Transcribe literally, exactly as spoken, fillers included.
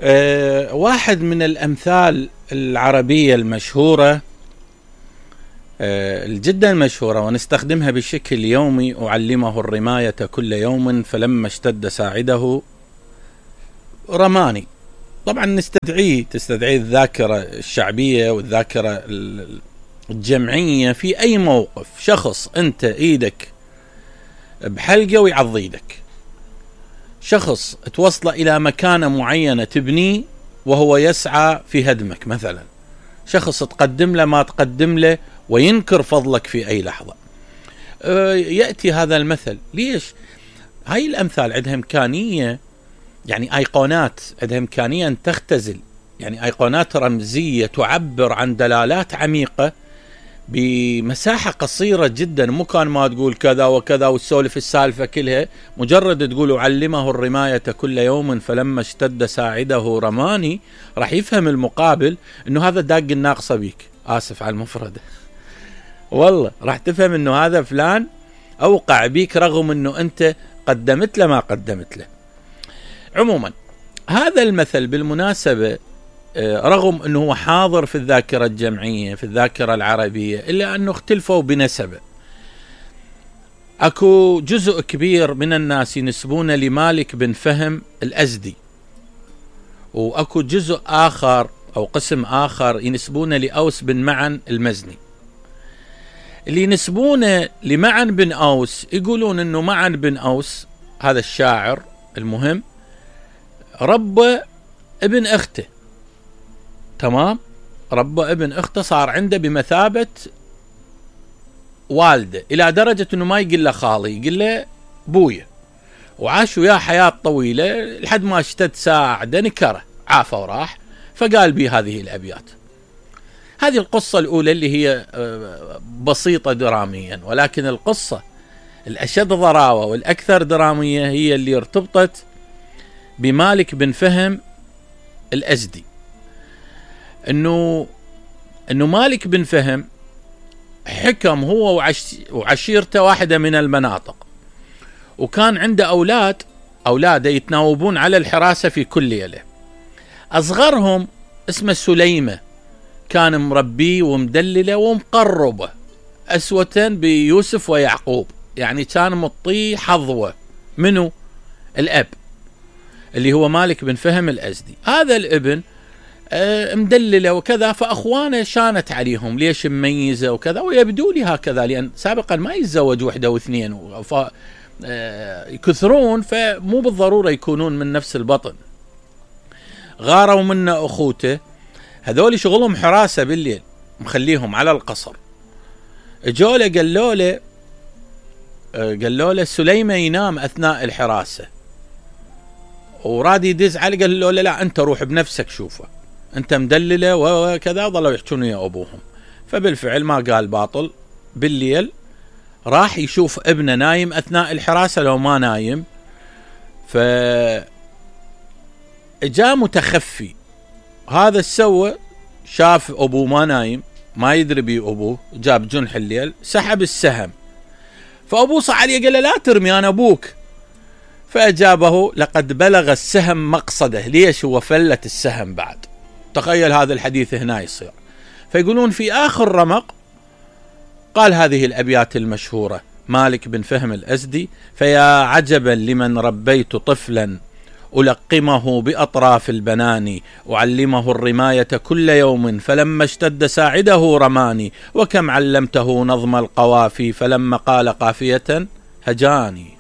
أه واحد من الأمثال العربية المشهورة أه جدا مشهورة ونستخدمها بشكل يومي: أعلمه الرماية كل يوم فلما اشتد ساعده رماني. طبعا نستدعيه تستدعي الذاكرة الشعبية والذاكرة الجمعية في أي موقف. شخص أنت إيدك بحلقة ويعضيدك، شخص توصل إلى مكانة معينة تبنيه وهو يسعى في هدمك، مثلا شخص تقدم له ما تقدم له وينكر فضلك في أي لحظة. يأتي هذا المثل. ليش؟ هاي الأمثال عندها إمكانية، يعني أيقونات عندها إمكانية أن تختزل، يعني أيقونات رمزية تعبر عن دلالات عميقة بمساحة قصيرة جدا. مو كان ما تقول كذا وكذا وتسولف السالفة كلها، مجرد تقول أعلمه الرماية كل يوم فلما اشتد ساعده رماني، راح يفهم المقابل انه هذا داق الناقصة بيك. آسف على المفردة والله، راح تفهم انه هذا فلان أوقع بيك رغم انه انت قدمت له ما قدمت له. عموما هذا المثل بالمناسبة رغم أنه هو حاضر في الذاكرة الجمعية في الذاكرة العربية، إلا أنه اختلفوا بنسبة. أكو جزء كبير من الناس ينسبون لمالك بن فهم الأزدي، وأكو جزء آخر أو قسم آخر ينسبون لأوس بن معن المزني. اللي ينسبون لمعن بن أوس يقولون أنه معن بن أوس هذا الشاعر المهم ربى ابن أخته، تمام، ربى ابن أخته، صار عنده بمثابة والده، إلى درجة أنه ما يقول له خالي، يقول له بويا، وعاش وياه حياة طويلة لحد ما اشتد ساعده نكره، عافى وراح. فقال بي هذه الأبيات. هذه القصة الأولى اللي هي بسيطة دراميا، ولكن القصة الأشد ضراوة والأكثر درامية هي اللي ارتبطت بمالك بن فهم الأزدي. انه انه مالك بن فهم حكم هو وعش وعشيرته واحدة من المناطق، وكان عنده اولاد اولاده يتناوبون على الحراسة في كل ليلة. اصغرهم اسمه سليمة، كان مربيه ومدلله ومقربه اسوة بيوسف ويعقوب، يعني كان مطيه حظوة منه الاب اللي هو مالك بن فهم الأزدي. هذا الابن مدلله وكذا، فأخوانه شانت عليهم ليش مميزة وكذا، ويبدو لي هكذا لأن سابقا ما يتزوج وحدة واثنين يكثرون، فمو بالضرورة يكونون من نفس البطن. غاروا منه أخوته، هذول شغلهم حراسة بالليل، مخليهم على القصر. جوله قالوا له قالوا له سليمة ينام أثناء الحراسة، وراد يدز عليه قال له لا أنت روح بنفسك شوفه، أنت مدلله وكذا. ظلوا يحجون يا أبوهم. فبالفعل ما قال باطل، بالليل راح يشوف ابنه نايم أثناء الحراسة لو ما نايم. فجاء متخفي، هذا السوى شاف أبوه ما نايم، ما يدري بي أبوه، جاب جنح الليل سحب السهم، فأبوه صح عليه قال له لا ترمي أنا أبوك. فأجابه لقد بلغ السهم مقصده. ليش؟ هو فلت السهم بعد. تخيل هذا الحديث هنا يصير. فيقولون في آخر رمق قال هذه الأبيات المشهورة مالك بن فهم الأزدي: فيا عجبا لمن ربيت طفلا ألقمه بأطراف البنان، أعلمه الرماية كل يوم فلما اشتد ساعده رماني، وكم علمته نظم القوافي فلما قال قافية هجاني.